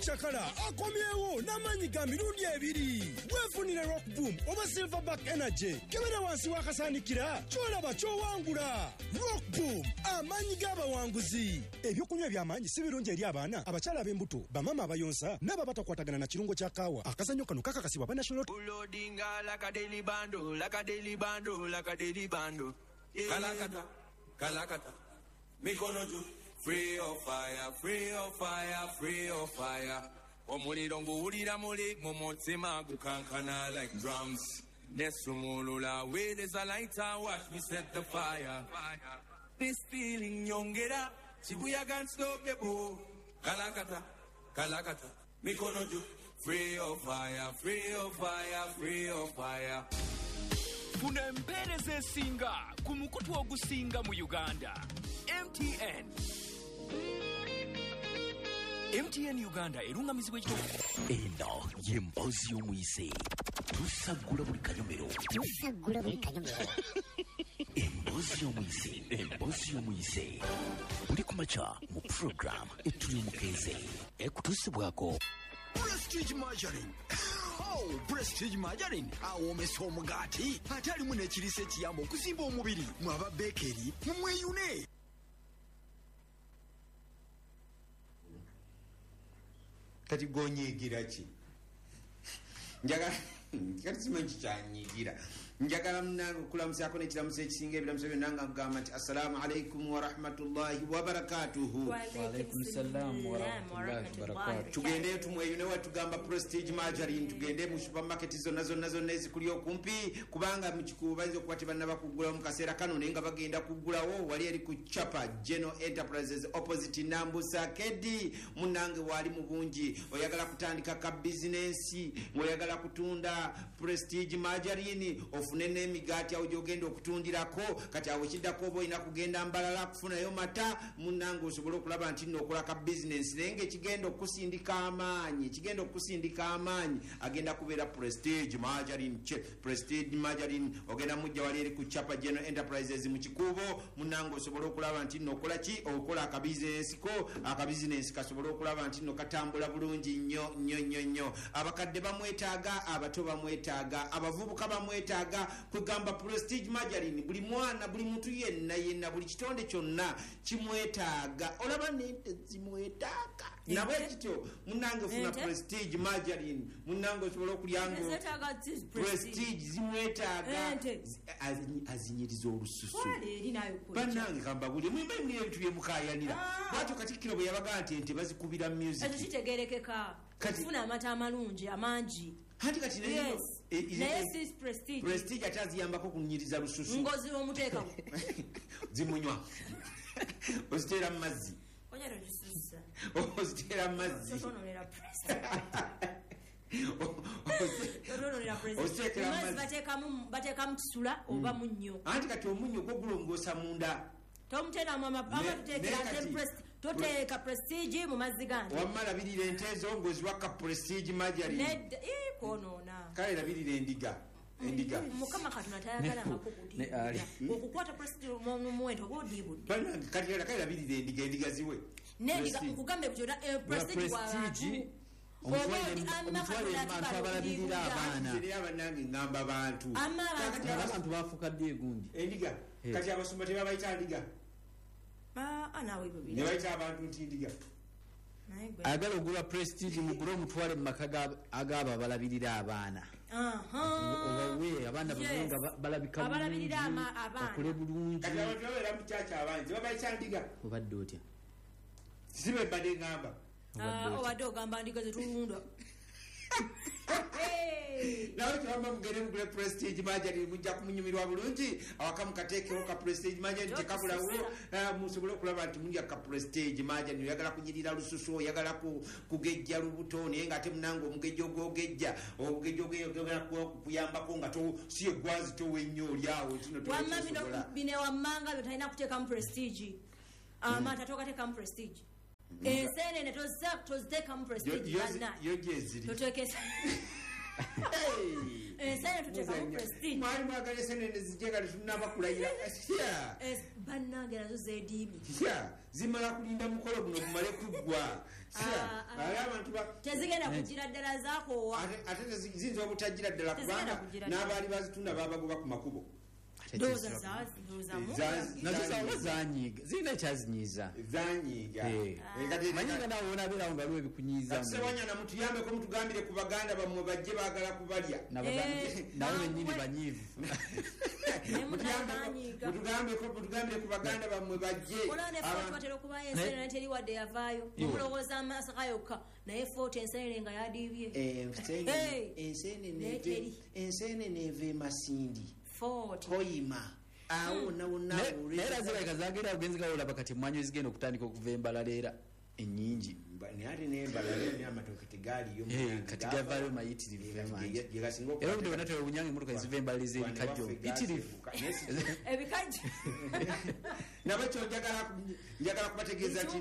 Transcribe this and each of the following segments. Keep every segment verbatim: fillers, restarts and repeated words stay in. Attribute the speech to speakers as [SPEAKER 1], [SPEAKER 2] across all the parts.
[SPEAKER 1] Chakala akomyewo n'amaanyi ga mirundi ebiri. Weefunire Rock Boom oba Silverback Energy. Kebera wansi w'akasaanikira ky'olaba ky'owangula. Rock Boom, amaanyi g'abawanguzi. Ebyokunywa eby'amaanyi si birungi eri abaana, abakyala ab'embuto, bamaama abayonsa n'abo abatakwatagana na kirungo kya kaawa. Akazannyo kano kakakasibwa aba National
[SPEAKER 2] Ulodinga like a daily bando, like a daily bando, like a daily bando. Kalakata, kalakata, mikono juu. Free of fire, free of fire, free of fire. Omuliro nguwulira muli mu mutima gukankana like drums. Nesumulula where there's a lighter, watch me set the fire. This feeling nyongera, chibuyaga unstoppable. Kalakata, kalakata, mikono juu. Free of fire, free of fire, free of fire.
[SPEAKER 3] Funa empeereza esinga ku mukutu ogusinga mu Uganda. M T N. M T N Uganda erungamizibwa ekitongole.
[SPEAKER 4] Eno ye mboozi y'omuyise. Tusaggula buli kanyomero.
[SPEAKER 5] Tusaggula buli kanyomero.
[SPEAKER 4] Emboozi y'omuyise. Emboozi y'omuyise. Buli ku makya mu program etuli omukeeze. Ekutuusibwako
[SPEAKER 6] Prestige Margarine. Oh, Prestige Margarine awoomesa omugaati ate alimu n'ekiriisa ekiyamba okuzimba omubiri. Mwe aba bakery mumweyune.
[SPEAKER 7] Kati gonyigira ki? Njagala kati simanyi kikyanyigira. Njagala munnange okulamusaako n'ekiramuso ekisinga ebiramuso byonna nga nkugamba nti assalaamu alaikum wa rahmatullahi wa barakatuhu.
[SPEAKER 8] Wa alaikum salaam wa rahmatullahi wa barakatuhu.
[SPEAKER 7] Tugendeyo tumweyune watugamba Prestige Margarine, tugende mu supermarket zonna zonna zonna ezikuli okumpi, kubanga mu Kikuubo bayinza okuba tebannaba kuggulawo mu kaseera kano, naye nga bagenda kuggulawo. Wali eri ku Chapa General Enterprises opposite Nambusa Kedi. Munnange waali mu bungi. Oyagala kutandika ka bizinensi, ng'oyagala kutunda Prestige Margarine, ofune n'emigaati awo gy'ogenda okutundirako. Kati awo kiddako oba olina kugenda Mbalala kufunayo mata, munnange osobole okulaba nti nno okola ka bizinensi. Naye ng'ekigenda okusindika amaanyi, ekigenda okusindika amaanyi agenda kubeera Prestige Margarine. Che Prestige Margarine ogenda mujja wali eri ku Chapa General Enterprises mu Kikuubo, munnange osobole okulaba nti nno okola ki, okola akabizinensi ko, akabizinensi kasobole okulaba nti nno katambula bulungi nnyo nnyo nnyo nnyo. Abakadde bamwetaaga, abato bamwetaaga, abavubuka bamwetaaga. Kugamba Prestige Margarine buli mwana, buli muntu yenna yenna, buli kitonde kyonna kimwetaaga. Olaba n'ente zimwetaaga. Nabwe kityo munnange funa Prestige Margarine, munnange osobola okulya ngo Prestige zimwetaaga, azinyiriza olususu. Bannange kambabulye mwemba mwe ebintu bye mukaayanira. Bw'atyo Katikkiro bwe yabaga nti ente bazikubira music.
[SPEAKER 9] Ekyo kitegeerekeka. Kufuna amata amalungi amangi.
[SPEAKER 7] Hati kati naye
[SPEAKER 9] naye si Prestige.
[SPEAKER 7] Prestige ate aziyambako kunyiriza lususu.
[SPEAKER 9] Ngozi omuteeka
[SPEAKER 7] zimunywa. Oziteera mu mazzi.
[SPEAKER 9] Onyera lususu.
[SPEAKER 7] Oziteera mu mazzi.
[SPEAKER 9] Totonolera Prestige. Totonolera Prestige. Mazzi bateekamu bateekamu kisula oba munnyo.
[SPEAKER 7] Anti kati omunnyo gwo gulongoosa munda.
[SPEAKER 9] Tomutera mama ama tuteekera Prestige. Toteeka Prestige mu mazzi gange.
[SPEAKER 7] Wamma labirira ente ezo ng'oziwaka Prestige Margarine.
[SPEAKER 9] Nedda ii kwonoona.
[SPEAKER 7] Kale labirira endiga. Endiga.
[SPEAKER 9] Mukama Katonda tayagala ngako okukwata Prestige mu muwendo oba odiibudde.
[SPEAKER 7] Bannange kati kale labirira endiga, endiga ziwe.
[SPEAKER 9] N'endiga nkugambe kyonna Prestige
[SPEAKER 8] Prestige omutwale abantu abalabirira abaana.
[SPEAKER 7] Era bannange ngamba bantu.
[SPEAKER 8] Abantu bafuuka ddi egundi?
[SPEAKER 7] Endiga. Kati abasumba tebabayita ndiga.
[SPEAKER 9] Ah, nawe ibyo
[SPEAKER 7] ne bayita abantu nti ndiga.
[SPEAKER 8] Ayagala ogula Prestige mugule omutwale mu maka ag'abo abalabirira abaana. Obawe abaana babe nga balabika
[SPEAKER 9] abalabirira abaana
[SPEAKER 8] bakule bulungi.
[SPEAKER 7] Kati abantu babeera mu kyaki abangi babayita ndiga.
[SPEAKER 8] Obadde otya?
[SPEAKER 7] Sibe mbadde ngamba.
[SPEAKER 9] Obadde ogamba ndiga zetulunda.
[SPEAKER 7] Nawe kyewamma mugende mugule Prestige Margarine, mujja kumunyumirwa bulungi. Awaka mukateekewo ka Prestige Margarine tekabulawo, musobole okulaba nti mulya ka Prestige Margarine. Oyagala kunyirira lususu, oyagala kugejja lubuto, naye ng'ate munnange omugejja ogwogejja, omugejja ogwogejja kuyambako nga si egwazi towa ennyo oli awo kino
[SPEAKER 9] tosobola. Bino wammanga byo talina kuteekamu Prestige. Amata togateekamu Prestige. Enseenene toziteekamu Prestige.
[SPEAKER 7] Yo gyeziri.
[SPEAKER 9] Toteekesa. Ensenene tuteekamu prestige.
[SPEAKER 7] Mwali mwagala ensenene zijje nga tetunnaba kulayira.
[SPEAKER 9] Bannange nazo zeediimye.
[SPEAKER 7] Zimala kulinda mukolo guno gumale kuggwa.
[SPEAKER 9] Tezigenda kugira ddala zaakoowa.
[SPEAKER 7] Ate ziyinza obutagira ddala kubanga n'abaali bazitunda babagoba ku makubo.
[SPEAKER 8] Nazo zanyiiga, zirina ekyazinyiiza.
[SPEAKER 7] Zanyiiga.
[SPEAKER 8] Manyi nga naawe wonabeerawo nga waliwo ebikunyiiza.
[SPEAKER 7] Ssewanyana mutuyambeko mutugambire ku baganda bammwe bajje baagala kubalya.
[SPEAKER 8] Nabo bennyini banyiivu.
[SPEAKER 7] Mutugambeko mutugambire ku baganda bammwe bajje.
[SPEAKER 9] Olaba ne Fort batera okubayo ensenene teri wadde yavaayo. Omulowooza amaaso ga yokka naye Fort ensenene nga yadiibye.
[SPEAKER 7] Ensenene eva e Masindi. Koyima awo nawo nawo
[SPEAKER 8] naye era zirabika zagenda ogenzi gawolaba kati emmwanyi ezigenda okutandika okuva embalala era ennyingi
[SPEAKER 7] naye ate n'embalala era amatooke tegaaliyo
[SPEAKER 8] kati gavaayo mayitirivu era obudde bwonna tewewunyanga emmotoka eziva embalala ez'ebikajjo bitirivu
[SPEAKER 9] ebikajjo
[SPEAKER 7] nabwekyo njagala kubategeeza nti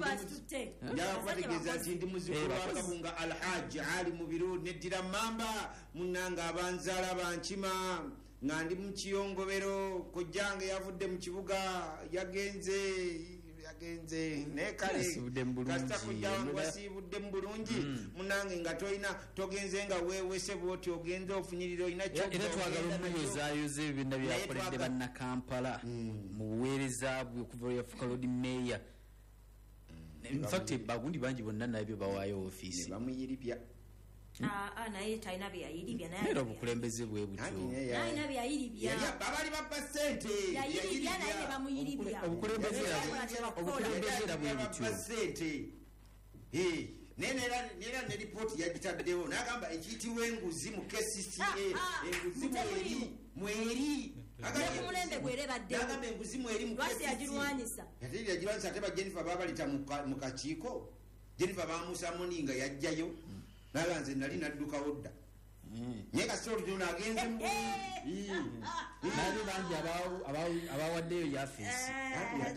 [SPEAKER 7] njagala kubategeeza nti ndi muzzukulu wa Kabunga Alhaji Ali Mubiru neddira Mamba munnange abanzaala bankima nga ndi mu kiyongobero kojjange yavudde mu kibuga yagenze yagenze naye kale kasita kojja wange wasiibudde mu bulungi munnange nga tolina togenze nga weewese bw'oti ogenze ofunyirira olina
[SPEAKER 8] era twagala omuyozaayoza ebyo byonna byakoledde bannakampala mu buweereza bwe okuva lwe yafuuka Lord Mayor. In fact bagundi bangi bonna nabyo bawaayo ofiisi
[SPEAKER 7] bamuyiribya.
[SPEAKER 9] Naye talina bye yayiribya
[SPEAKER 8] naye obukulembeze bwe butyo
[SPEAKER 9] talina bye yayiribya
[SPEAKER 7] abaali babba ssente
[SPEAKER 9] yayiribya naye ne bamuyiribya
[SPEAKER 8] obukulembeze era bwe butyo
[SPEAKER 7] ssente naye nera ne lipooti yagitaddewo n'agamba ekiyitibwa enguzi mu K C C A enguzi mweri mweri
[SPEAKER 9] omulembe gwere baddewo
[SPEAKER 7] n'agamba enguzi mweri mu
[SPEAKER 9] lwaki yagirwanyisa
[SPEAKER 7] ate yagirwanyisa ate ba Jennifer baabalita mu kakiiko Jennifer baamusa muni nga yajjayo naga nze nali naddukawo dda naye kasita olugendo agenze mu
[SPEAKER 8] nabe bangi abawaddeyo yafeesi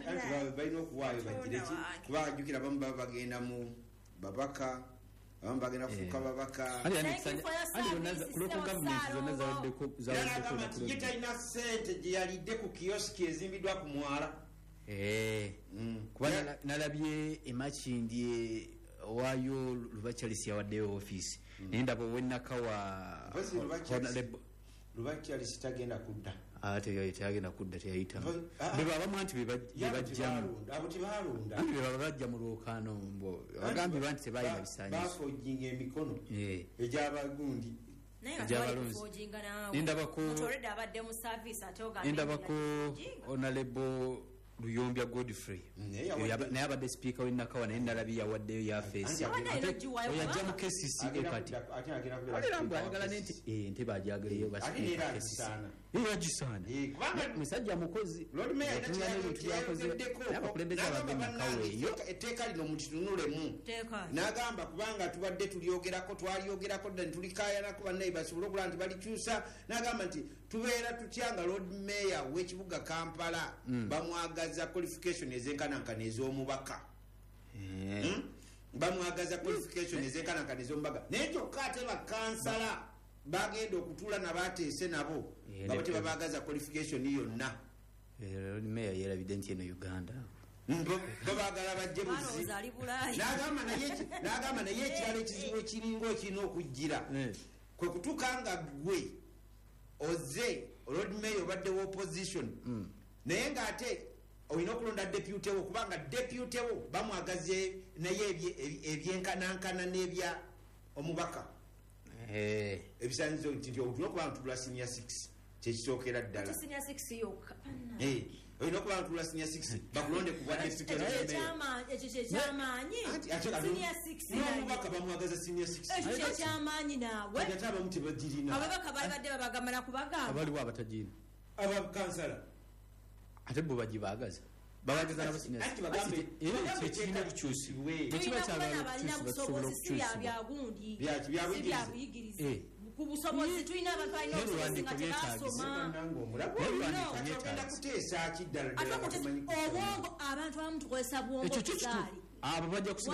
[SPEAKER 7] anti balina okuwaayo bagire ki kuba ajjukira abamu baba bagenda mu babaka abamu bagenda kufuuka babaka
[SPEAKER 8] local government zonna zawaddeko
[SPEAKER 7] nti ye talina ssente gye yalidde ku kiyosiki ezimbiddwa ku mwala
[SPEAKER 8] kuba nalabye emakindye waayo Luba Charles yawaddeyo ofiisi naye ndaba ow'ennakawa
[SPEAKER 7] Luba Charles tagenda kudda
[SPEAKER 8] teyagenda kudda teyayitamu beba abamu anti bebajjamu
[SPEAKER 7] abo tebalonda
[SPEAKER 8] anti bebaba bajja mu lwokaano bagambye nti tebalina bisaanyizo
[SPEAKER 7] bafojinga emikono egy'abagundi
[SPEAKER 8] egy'abalonzi nendabako Honorable Luyombya Godfrey naye abadde sipiika w'ennakawa naye nalabye yawaddeyo yafeesi yajja mu K C C A kati era mbu ayagala nente entebe agyagaleyo basipiika K C C A yagisaana musajja mukozi otunula n'ebintu byakoze naye abakulembeze abava ennakawa eyo
[SPEAKER 7] etteeka lino mukitunulemu n'agamba kubanga tubadde tulyogerako twalyogerako dda netulikayanako bannaye basobole okulaba nti balikyusa n'agamba nti tubeera tutya nga Lord Mayor w'ekibuga Kampala bamwagaza qualification ezenkanankana ez'omubaka bamwagaza qualification ezenkanankana ez'omubaka naye kyokka ate bakansala bagenda okutuula nabateese nabo baba tebabagaza qualification yonna.
[SPEAKER 8] Lord Mayor yerabidde nti eno Uganda
[SPEAKER 7] babagala bajje buzi n'agamba naye ekirala ekizibu ekiringa ekirina okujjira kwe kutuuka nga ggwe oze Lord Mayor obadde opposition naye ng'ate olina okulonda deputy wo kubanga deputy wo bamwagaze naye ebyenkanankana n'ebya omubaka ebisaanyizo nti nti olina okuba nga tutula senior six kyekisookera ddala olina okuba nga tutula senior six bakulonde ku bwa deputy
[SPEAKER 9] ekyo kyekyamaanyi
[SPEAKER 7] n'omubaka bamwagaza senior six
[SPEAKER 9] ekyo kyekyamaanyi naawe
[SPEAKER 7] ate abamu tebagirina
[SPEAKER 9] ababaka baali badde babagamala kubagamba
[SPEAKER 8] abaliwo abatagirina
[SPEAKER 7] abakansala
[SPEAKER 8] ate bo bagibaagaza babagaza nabo senior six era ekirina okukyusibwe
[SPEAKER 9] bwe kiba kyagala okukyusibwa si byagundi byabuyigirize ku busobozi tulina abantu balina obusobozi nga tebasoma
[SPEAKER 7] ogenda kuteesa ki ddala
[SPEAKER 9] obwongo abantu abamu tukozesa bwongo
[SPEAKER 8] abo bajja